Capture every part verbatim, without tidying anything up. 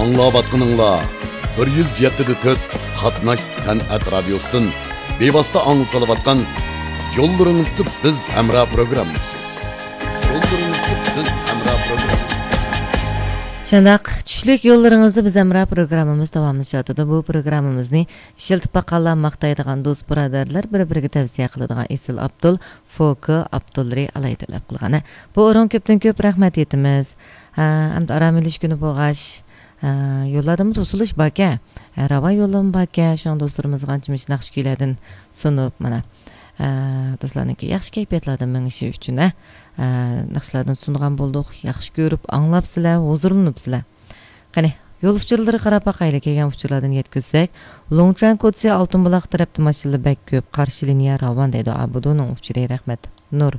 ئاڭلاۋاتقىنىڭلار بىر يۈز يەتتە دە تۆت قاتناش سەنئەت رادىيوسىدىن بىۋاسىتە ئاڭلىتىلىۋاتقان يوللىرىڭىزدا بىز ھەمراھ پروگراممىسى. يوللىرىڭىزدا بىز ھەمراھ پروگراممىسى. شۇنداق، چۈشلۈك يوللىرىڭىزدا بىز ھەمراھ پروگراممىمىز داۋاملىشىۋاتىدۇ. بۇ پروگراممىمىزنى ئىشلىتىپ باققانلار ماختايدىغان دوست بۇرادەرلەر بىر-بىرىگە تەۋسىيە قىلىدىغان ئېسىل ئابدۇل، فوكى ئابدۇللىرى ئالاھىدە تەلەپ قىلغان. ھە، بۇ ئورۇنغا كۆپتىن كۆپ رەھمەت ئېيتىمىز. ھە، ئەمدى ئارام ئېلىش كۈنى بولغاچ، ھە، يوللاردىمۇ توسۇلۇش باركەن. ھە، راۋان يوللىرىمۇ باركەن. شۇڭا دوستلىرىمىزغا ئانچە-مۇنچە ناخشا كۈيلەردىن سۇنۇپ، مانا، ھە، دوستلارنىڭكى ياخشى كەيپىياتلاردا مېڭىشى ئۈچۈن، ھە، ھە، ناخشىلاردىن سۇنغان بولدۇق. ياخشى كۆرۈپ، ئاڭلاپسىلەر، ھۇزۇرلىنىپسىلەر. قېنى، يول ئۇچۇرلىرى قاراپ باقايلى، كەلگەن ئۇچۇرلاردىن يەتكۈزسەك، لۇڭچۈەن كوچىسى ئالتۇن بۇلاق تەرەپتە ماشىنىلار بەك كۆپ، قارشى لىنىيە راۋان دەيدۇ. ئابۇدۇنىڭ ئۇچۇرى، رەھمەت. نۇر.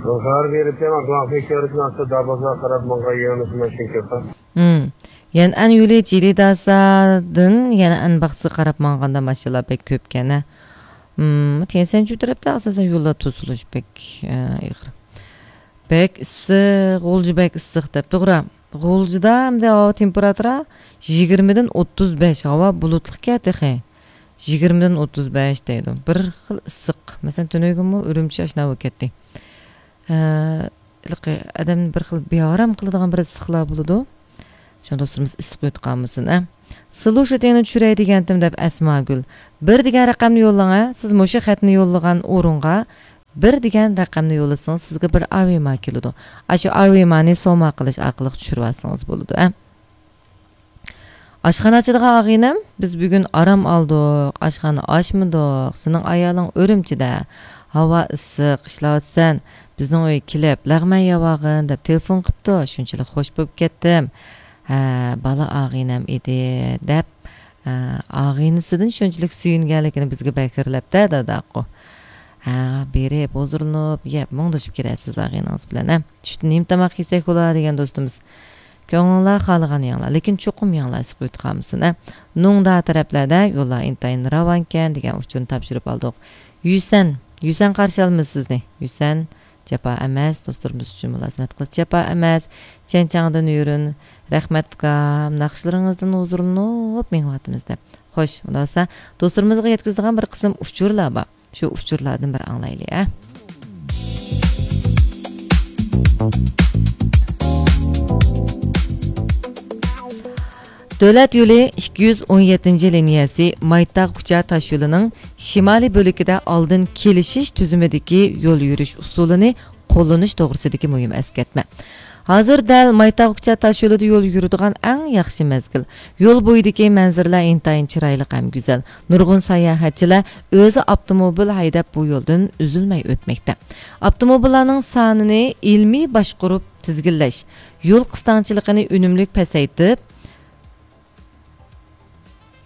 روزار بېرىپ، ماڭغان كۆرۈپ، ناخشا دابازغا قاراپ ماڭغان يۆنىلىش ماشىنا كۆپ. ھىم. يەنئەن يولى جىلىداسادىن يەنئەن باغچىسىغا قاراپ ماڭغاندا ماشىنىلار بەك كۆپكەن، ھە. ھىم، تيەنشەنچۈ تەرەپتە ئاساسەن يوللار توسۇلۇش بەك، ئە، ئېغىر. بەك ئىسسىق، غۇلجا بەك ئىسسىق دەپ، توغرا. غۇلجىدا ئەمدى ھاۋا تېمپېراتۇرا يىگىرمىدىن ئوتتۇز بەش، ھاۋا بۇلۇتلۇقكەن تېخى. يىگىرمىدىن ئوتتۇز بەش دەيدۇ. بىر خىل ئىسسىق. مەسىلەن، تۈنۈگۈنمۇ ئۈرۈمچى ئاشۇنداق بولۇپ كەتتى. ھە، ھېلىقى ئادەمنى بىر خىل بىئارام قىلىدىغان بىر ئىسسىقلار بولىدۇ. شۇڭا دوستلىرىمىز ئىسسىق ئۆتۈپ قالمىسۇن، ئە. سلۇشىتىڭنى چۈشۈرەي دېگەنتىم دەپ ئەسماگۈل. بىر دېگەن رەقەمنى يوللاڭ، ئە. سىز مۇشۇ خەتنى يوللىغان ئورۇنغا بىر دېگەن رەقەمنى يوللىسىڭىز، سىزگە بىر ئارۋېما كېلىدۇ. ئاشۇ ئارۋېمانى سوما قىلىش ئارقىلىق چۈشۈرۈۋالسىڭىز بولىدۇ، ئە. ئاشخانا ئاچىدىغان ئاغىنەم، بىز بۈگۈن ئارام ئالدۇق، ئاشخانا ئاچمىدۇق، سېنىڭ ئايالىڭ ئۈرۈمچىدە، ھاۋا ئىسسىق، ئىشلەۋاتىسەن، بىزنىڭ ئۆيگە كېلىپ، لەغمەن يەۋالغىن دەپ تېلېفون قىپتۇ، شۇنچىلىك خوش بولۇپ كەتتىم. ھە، بالا ئاغىنەم ئىدى، دەپ، ھە، ئاغىنىسىدىن شۇنچىلىك سۆيۈنگەنلىكىنى بىزگە بەكرىلەپتە داداقۇ. ھە، بېرىپ، ھۇزۇرلىنىپ، يەپ، مۇڭدىشىپ كېلەرسىز ئاغىنىڭىز بىلەن، ھە. چۈشتە نېمە تاماق يېسەك بولا دېگەن دوستىمىز. كۆڭلۈڭلار خالىغان يەڭلار، لېكىن چوقۇم يەڭلار ئىسسىق ئۆتۈپ قالمىسۇن، ھە. نۇڭدا تەرەپلەردە يوللار ئىنتايىن راۋانكەن دېگەن ئۇچۇرنى تاپشۇرۇپ ئالدۇق. يۈسەن، يۈسەن قارشى ئالىمىز سىزنى. يۈسەن، جاپا ئەمەس، دوستلىرىمىز ئۈچۈن مۇلازىمەت قىلىش جاپا ئەمەس. چيەنچاڭدىن يۈرۈن، رەھمەت ئۇكام، ناخشىلىرىڭىزدىن ھۇزۇرلىنىپ مېڭىۋاتىمىز دەپ. خوش، ئۇنداق بولسا، دوستلىرىمىزغا يەتكۈزىدىغان بىر قىسىم ئۇچۇرلار بار. شۇ ئۇچۇرلاردىن بىر ئاڭلايلى، ھە. دۆلەت يولى ئىككى يۈز ئون يەتتىنچى لىنىيەسى مايتاغ كۇچا تاشيولىنىڭ شىمالىي بۆلىكىدە ئالدىن كېلىشىش تۈزۈمىدىكى يول يۈرۈش ئۇسۇلىنى قوللىنىش توغرىسىدىكى مۇھىم ئەسكەرتمە. ھازىر دەل مايتاغ كۇچا تاشيولىدا يول يۈرىدىغان ئەڭ ياخشى مەزگىل. يول بويىدىكى مەنزىرىلەر ئىنتايىن چىرايلىق ھەم گۈزەل. نۇرغۇن ساياھەتچىلەر ئۆزى ئاپتوموبىل ھەيدەپ بۇ يولدىن ئۈزۈلمەي ئۆتمەكتە. ئاپتوموبىللارنىڭ سانىنى ئىلمىي باشقۇرۇپ تىزگىنلەش، يول قىستاڭچىلىقىنى ئۈنۈملۈك پەسەيتىپ،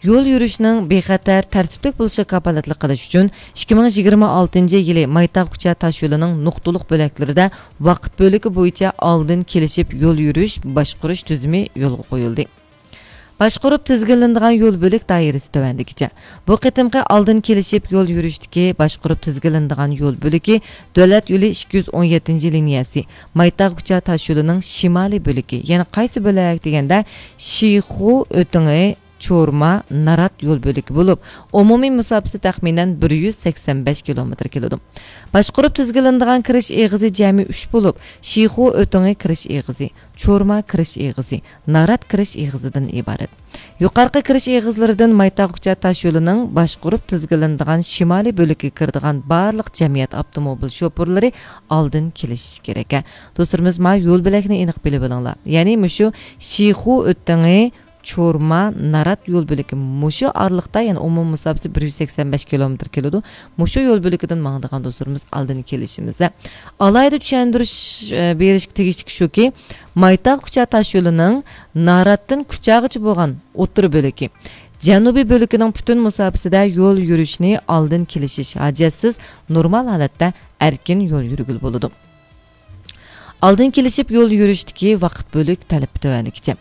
يول يۈرۈشنىڭ بىخەتەر، تەرتىپلىك بولۇشىغا كاپالەتلىك قىلىش ئۈچۈن، ئىككى مىڭ يىگىرمە ئالتىنچى يىلى مايتاغ كۇچا تاشيولىنىڭ نۇقتىلىق بۆلەكلىرىدە ۋاقىت بۆلىكى بويىچە ئالدىن كېلىشىپ يول يۈرۈش باشقۇرۇش تۈزۈمى يولغا قويۇلدى. باشقۇرۇپ تىزگىنلىنىدىغان يول بۆلەك دائىرىسى تۆۋەندىكىچە. بۇ قېتىمقى ئالدىن كېلىشىپ يول يۈرۈشتىكى باشقۇرۇپ تىزگىنلىنىدىغان يول بۆلىكى دۆلەت يولى ئىككى يۈز ئون يەتتىنچى لىنىيەسى، مايتاغ كۇچا تاشيولىنىڭ شىمالىي بۆلىكى، يەنى قايسى بۆلەك دېگەندە، شىخۇ ئۆتىڭى، چورما، نارات يول بۆلىكى بولۇپ، ئومۇمىي مۇساپىسى تەخمىنەن بىر يۈز سەكسەن بەش كىلومېتىر كېلىدۇ. باشقۇرۇپ تىزگىنلىنىدىغان كىرىش ئېغىزى جەمئىي ئۈچ بولۇپ، شىخۇ ئۆتىڭى كىرىش ئېغىزى، چورما كىرىش ئېغىزى، نارات كىرىش ئېغىزىدىن ئىبارەت. يۇقارقى كىرىش ئېغىزلىرىدىن مايتاغ كۇچا تاشيولىنىڭ باشقۇرۇپ تىزگىنلىنىدىغان شىمالىي بۆلىكىگە كىرىدىغان بارلىق جەمئىيەت ئاپتوموبىل شوپۇرلىرى ئالدىن كېلىشىشى كېرەك. دوستلىرىمىز، ما يول بۆلەكنى ئېنىق بىلىپ ئېلىڭلار. يەنى مۇشۇ شىخۇ ئۆتىڭى، چورما، نارات يول بۆلىكى مۇشۇ ئارىلىقتا، يەنى ئومۇمىي مۇساپىسى بىر يۈز سەكسەن بەش كىلومېتىر كېلىدۇ. مۇشۇ يول بۆلىكىدىن ماڭىدىغان دوستلىرىمىز ئالدىن كېلىشىمىزدە. ئالاھىدە چۈشەندۈرۈش، ئە، بېرىشكە تېگىشلىك شۇكى، مايتاغ كۇچا تاشيولىنىڭ ناراتتىن كۇچاغىچە بولغان ئوتتۇرا بۆلىكى، جەنۇبىي بۆلىكىنىڭ پۈتۈن مۇساپىسىدە يول يۈرۈشنى ئالدىن كېلىشىش ھاجەتسىز، نورمال ھالەتتە ئەركىن يول يۈرگىلى بولىدۇ. ئالدىن كېلىشىپ يول يۈرۈشتىكى ۋاقىت بۆلۈك تەلىپى تۆۋەندىكىچە.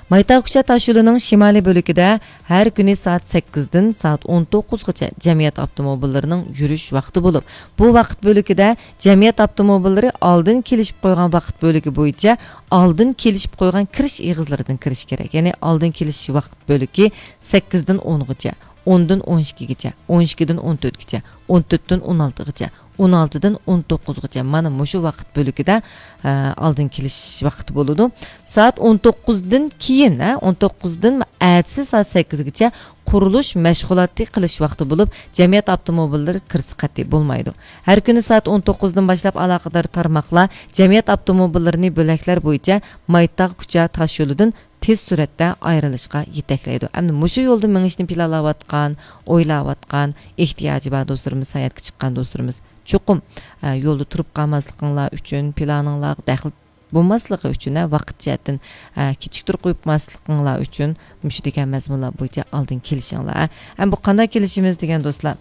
مايتاۋ كۇچا تاشيولىنىڭ شىمالىي بۆلىكىدە ھەر كۈنى سائەت سەككىزدىن سائەت ئون توققۇزغىچە جەمئىيەت ئاپتوموبىللىرىنىڭ يۈرۈش ۋاقتى بولۇپ، بۇ ۋاقىت بۆلىكىدە جەمئىيەت ئاپتوموبىللىرى ئالدىن كېلىشىپ قويغان ۋاقىت بۆلىكى بويىچە ئالدىن كېلىشىپ قويغان كىرىش ئېغىزلىرىدىن كىرىشى كېرەك. يەنى ئالدىن كېلىش ۋاقىت بۆلىكى سەككىزدىن ئونغىچە، ئوندىن ئون ئىككىگىچە، ئون ئىككىدىن ئون تۆتكىچە، ئون تۆتتىن ئون ئالتىغىچە، ئون ئالتىدىن ئون توققۇزغىچە، مانا مۇشۇ ۋاقىت بۆلىكىدە، ئە، ئالدىن كېلىش ۋاقتى بولىدۇ. سائەت ئون توققۇزدىن كېيىن، ھە، ئون توققۇزدىن ئەتىسى سائەت سەككىزگىچە قۇرۇلۇش مەشغۇلاتى قىلىش ۋاقتى بولۇپ، جەمئىيەت ئاپتوموبىللىرى كىرسە قەتئىي بولمايدۇ. ھەر كۈنى سائەت ئون توققۇزدىن باشلاپ ئالاقىدار تارماقلار جەمئىيەت ئاپتوموبىللىرىنى بۆلەكلەر بويىچە مايتاغ كۇچا تاشيولىدىن تېز سۈرئەتتە ئايرىلىشقا يېتەكلەيدۇ. ئەمدى مۇشۇ يولدا مېڭىشنى پىلانلاۋاتقان، ئويلاۋاتقان، ئېھتىياجى بار دوستلىرىمىز، ساياھەتكە چىققان دوستلىرىمىز چوقۇم، ئە، يولدا تۇرۇپ قالماسلىقىڭلار ئۈچۈن، پىلانىڭلارغا دەخلى بولماسلىقى ئۈچۈن، ھە، ۋاقىت جەھەتتىن، ئە، كېچىكتۈرۈپ قويماسلىقىڭلار ئۈچۈن مۇشۇ دېگەن مەزمۇنلار بويىچە ئالدىن كېلىشىڭلار. ھە، بۇ قانداق كېلىشىمىز دېگەن دوستلار؟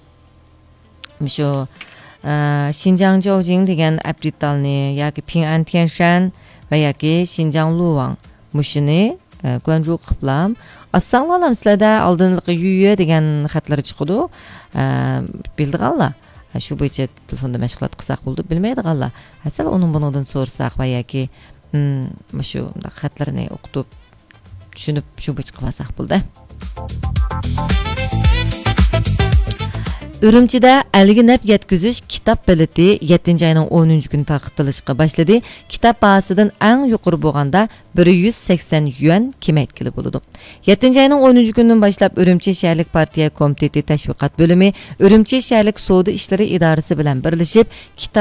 مۇشۇ، ئە، شىنجاڭ جاۋجىڭ دېگەن ئەپ دېتالنى ياكى پىڭئەن تيەنشەن ۋە ياكى شىنجاڭ لۇۋاڭ مۇشۇنى، ئە، گۇەنجۇ قىپلام ئاسساڭلارلام سىلەردە ئالدىنلىقى يۈيۈ دېگەن خەتلىرى چىقىدۇ. ئە، بىلىدىغانلار، ئە، شۇ بويىچە تېلېفوندا مەشغۇلات قىلساق بولىدۇ. بىلمەيدىغانلار، ھە، سەل ئۇنىڭ بۇنىڭدىن سورىساق ۋە ياكى، ھىم، مۇشۇ مۇنداق خەتلىرىنى ئوقۇتۇپ، چۈشىنىپ، شۇ بويىچە قىلىۋالساق بولدى. ئۈرۈمچىدە ئەلگە نەپ يەتكۈزۈش كىتاب بېلىتى يەتتىنچى ئاينىڭ ئونىنچى كۈنى تارقىتىلىشقا باشلىدى. كىتاب باھاسىدىن ئەڭ يۇقىرى بولغاندا بىر يۈز سەكسەن يۈەن كېمەيتكىلى بولىدۇ. يەتتىنچى ئاينىڭ ئونىنچى كۈنىدىن باشلاپ ئۈرۈمچى شەھەرلىك پارتىيە كومىتېتى تەشۋىقات بۆلۈمى ئۈرۈمچى شەھەرلىك سودا ئىشلىرى ئىدارىسى بىلەن بىرلىشىپ كىتاب